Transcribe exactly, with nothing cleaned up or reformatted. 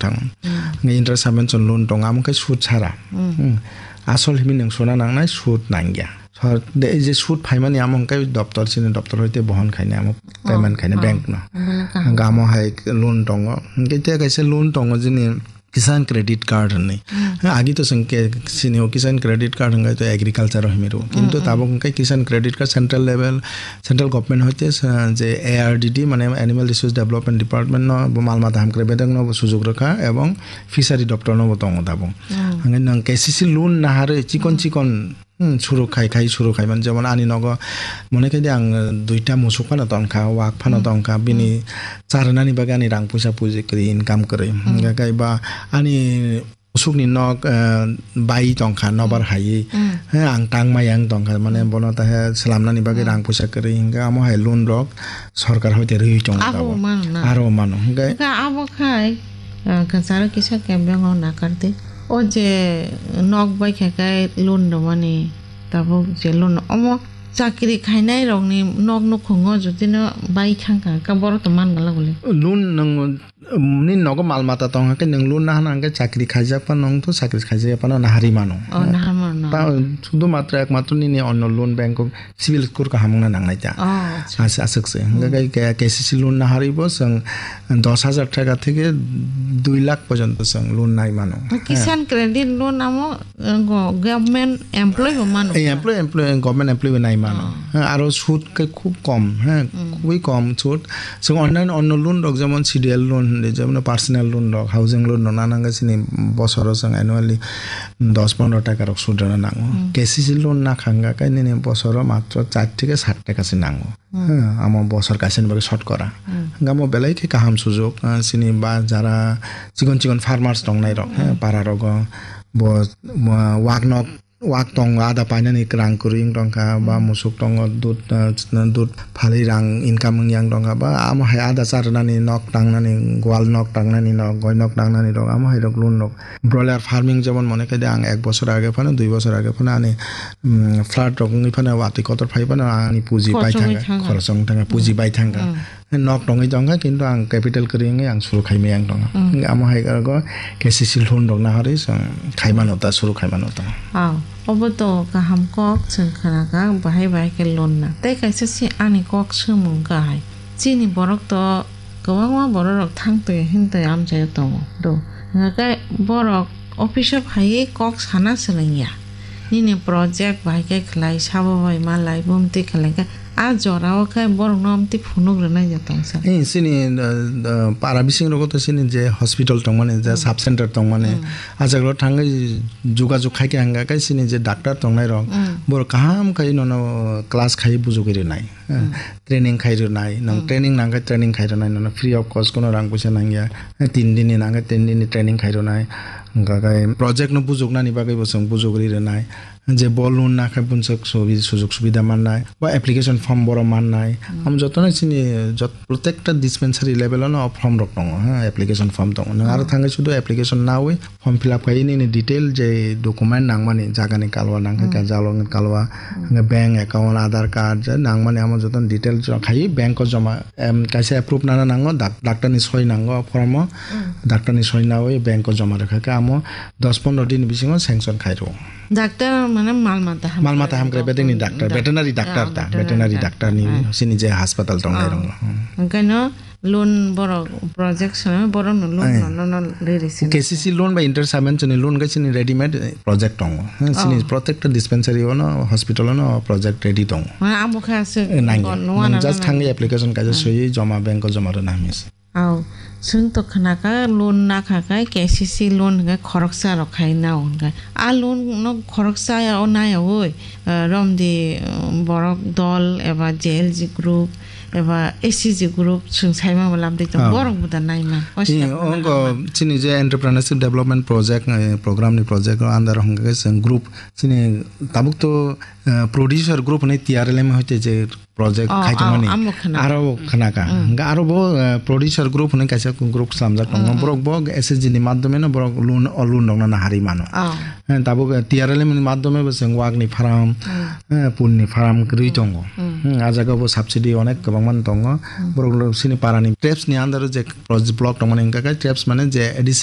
thango. Hmm. Hwnkhe interest subvention loan tongo, amo khe sud sara. Hmm. Hmm. Asol himwi nwng suna nangnai, sud nangya. Sor-, de, ei je sud phaimani amo hwnkhe doptor, chini doptor hoite bohon khainai amo, oh, payment khainai, oh, bank no. Belai kaham. Hwnkhe amo hai loan tongo. Hwnkhe tei kaisa loan tongo jini Kisan Credit Card hinwi. Hmm. Agi to chwng ke-, sini o Kisan Credit Card hwnkhe to agriculture o himwi rwo. Hmm, kintu hmm, tabuk hwnkhe Kisan Credit Card central level, central government hoite sa-, je A R D D mane Animal Resource Development Department no bo mal mata hamkrai bedek no bo sujuk rwkha ebong fishery doptor no bo tongo tabuk. Hmm. Hwnkhe nwng K C C loan naharwi chikon, hmm, chikon Hmm, suru khai khai, suru khai man, jemon ani nogo mone khai de ang, eh, duita musuk phano tongkha, wak phano, hmm, tongkha, bini, hmm, charwnani bagwi ani rang puisa puji kwrwi, income kwrwi. Hmm. Hingkha khe ba ani musukni nok, eh, bai tongkha, nobar, hmm, hai. Hmm. He, ang tangma yang tongkha, mane, hmm, bono ta he swlamnani bagwi, hmm, rang puisa kwrwi, hingkha amo hai loan rok sorkar hoite rwi tongo abo tabuk. Mano na? Aro mano, hingkha. Hingkha abo khai, eh, kwcharo kisa kebeng o nakar di. O je nok bai khe kai loan rwmani, tabuk je loan omo chakri khainai rokni nok nukhungo jotino bai thangkha, ka borok to man gala guli. Loan nwng, um, ni nogo mal mata tong hakhe nwng loan nahana hwnkhe chakri khaijak phano wngthu, chakri khaijak phano naharwi mano. Oh, naharwi mano. Ta, sudhu matra ekmatro nini onno loan bank o CIBIL score kaham wngna nangnai ta. Oh, acha. As-, aswk se. Hmm. Hingkhe K-, K C C loan naharwi bo chwng dos hajar taka theke dui lakh porjonto chwng loan nai mano. Kisan, he, Credit Loan amo, eh, go-, government employee bo mano. Eh, ka? Employee, employee, government employee bo nai mano. Oh. He, aro sud khe khub kom, he, hmm, khubui kom sud. Chwng onno, onno loan rok jemon C D L loan hinwi, jemon personal loan rok, housing loan rok nana hwnkhe chini bosoro chwng annually dos pondro taka rok sud rwna nango. Hmm. K C C loan nakha hwnkha khe nini bosoro matro char theke sat taka se nango. Hmm. He, amo bosor kaisa ni bagwi sotkora. Hmm. Hwnkhe amo belai khe kaham sujuk, ah, chini ba jara chikon chikon farmers tongnai rok, he, hmm, para rogo bo, bo wak nok wak tongo, ada painani rang kwrwi wng tongkha, ba, hmm, musuk tongo, dud, ah, dud phalwi rang income wng yang tongkha, ba, amo hai ada charwnani nok tangnani, gwal nok tangnani nok, goi nok tangnani rok, amo hai rok loan rok. Broiler farming jemon mone khe de ang ek bosor age phano, dui bosor age phano ani, mm, flood rok wngwi phano, watwi kotor phai phano ani puji bai thangkha, khorchongwi thangkha, khorchong thangkha, puji, hmm, bai thangkha. Hmm. Nok tongwi tongkha, kintu ang capital kwrwi wngwi ang suru khai maya wng tongkha. Hmm. Hingkhe amo hai rokgo K C C loan rok naharwi chwng khai mano ta, suru khai mano ta. Oh, obo to kaham kok chwng khna kha, bahai bahai khe loan na. Tei kaisa se ani kok swngmung kha hai. Chini borok to kwbangma borok rok thang twi hwn twi amchaio tongo do. Hwnkhe borok office o phaiwi kok sana swlwng ya. Nini project bahai khe khlai, sabo bai malai, bumtwi khlai khe. A jora o khe borok no amtwi phunuk rwnai ya tongsa. Eh, chini, eh, eh, para bising rogo to chini je hospital tongmani, je, hmm, sub center tongmani, hmm, a jaga o thangwi jogajog khai khe hwnkha khe chini je doctor tongnai rok, hmm, borok kaham khai nono class khai bujugwi rwnai. Eh, hmm, training khai rwnai, nwng, hmm, training nang khe training khai rwnai, nono free of cost, kono rang puisa nang ya. Eh, tin din ni nang khe tin din ni training khai rwnai. Hwnkha khe project no bujuknani bagwi bo chwng bujugwi rwnai. Je bo loan nakha bunso subi-, sujug subida mannai, bo application form boro mannai. Hmm. Am jotono chini jot-, protekta dispensary level ono form rok tongo, ha, application form tongo. Nwng aro, oh, thangwi sudu application nawi form fill up khai nini detail je document nangmani, jagani kalwa nangkha, hmm, khe jalokni kalwa, hmm, hwnkhe bank account, Aadhaar card, je nangmani amo jotono detail khai bank o joma, em, kaisa approve nana nango, dak-, doctor ni soi nango form o, hmm, doctor ni soi nawi bank o joma rwkha khe amo dos pondro din bisingo sanction khai rwo. Doctor mane mal mata hamkrai. Mal mata hamkrai bedekni doctor, doctor, veterinary doctor, ah, ta, veterinary, veterinary doctor, doctor ni, ah, sini je hospital tongnai, oh, rong. Hmm. Hwnkhe no loan borok project swnam borok no loan, eh, no, no, no, riri sini. K C C loan bai inter saben chini loan khe chini readymade, eh, project tongo. Hmm, sini, oh, protected dispensary ono, hospital ono project ready tongo. Mane abo khe aswk, eh, nangya. Loan nang ano just nang thangwi application kaisa, hmm, swiwi joma bank o joma rwna hamya se. Aw, chwng to khna kha loan nakha khe K C C loan hwnkhe khoroksa rok khai nao hwnkhe. A loan no khoroksa ya o nai yaui, eh, romdi, eh, borok dol eba J L G group eba S C G group chwng saima bo lamdi tong, oh, borok bo da naima. O, eh, siyang ongo chini je entrepreneurship development project, eh, program ni project o under hwnkhe chwng group chini tabuk to, eh, producer group hwnwi T R L M hoite je project, oh, khai tongmani, oh, amo khna. Aro khna kha. Mm. Hwnkhe aro bo, eh, producer group hwnwi kaisa group slamjak tongo. Mm, mm. Borok bo S H G ni madhyome no borok loan, o loan rok no naharwi mano. Oh. Eh, tabuk, eh, T R L M ni madhyome bo chwng wak ni farm, mm, eh, pun ni farm kwrwi, mm, tongo. Mm. Hmm, a jaga bo subsidy onek kwbangma tongo. Mm. Borok lo sini para ni TRAPS ni under o je project block tongmani hwnkha khe TRAPS mane je A D C